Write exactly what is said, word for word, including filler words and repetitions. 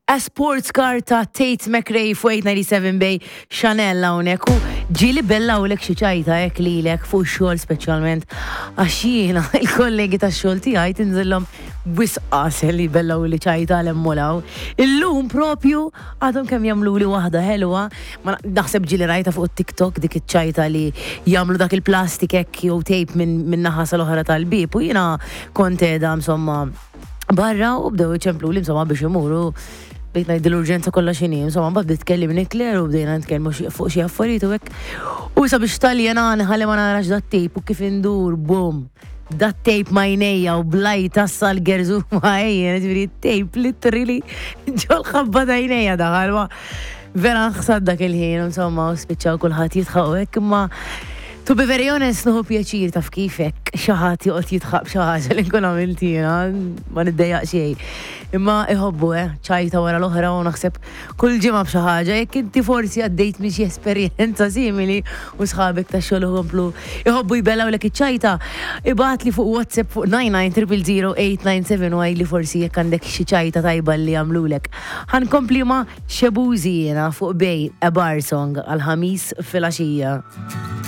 A Sports Car ta' Tate McRae fuq eight ninety-seven Bay Chanel hawnhekk. U ġieli bellgħulek xi ċajta hekk lilek fuq xogħol speċjalment? Għax jiena il-kollegi tax-xogħol tiegħi tinżillhom wisq għasel li bellgħu li ċajta l-emmolaw. Illum propju għadhom kemm jagħmlu li waħda ħelwa, ma naħseb ġieli rajta fuq TikTok dik iċ-ċajta li jagħmlu dak il-plastik hekk jew tape minn min naħa sal-oħra tal-bib u jiena kont qiegħda insomma barra u bdew iċemplu li insomma biex imuru. Bdejt ngħid l-urġenza kollha x'inhi, insomma, mbagħad bdiet tkellimni Claire u bdejna nitkellmu xi- fuq xi affarijiet u hekk. U sabiex taljena ħalli ma narax dat-tape u kif indur, bum. Dat-tape m'għajnejja u blajt tassa l-gerżu ma' ġifieri tape literally ġol-ħabba t'għajnejja daħal, ma vera nħsad dak il-ħin, insomma, u spiċċaw kulħadd jidħaq u hekk, imma to be very honest, nieħu pjaċir, taf kifek, xi ħadd joqgħod jidħaq b'xi ħaġa li nkun għamilt jiena, ma niddejjaq xejn. Imma iħobbu, eh, ċajta wara l-oħra u naħseb kull ġimgħa b'xi ħaġa. Jekk inti forsi għaddejt minn xi esperjenza simili u sħabek ta' xogħol ikomplu iħobbu jbellgħulek iċ-ċajta, ibgħatli fuq WhatsApp fuq nine nine zero zero zero eight nine seven u għidli forsi jekk għandek xi ċajta tajba li jagħmlulek. Ħa nkompli ma' Shaboozey jiena fuq Bay, A Bar Song għal-Ħamis filgħaxija.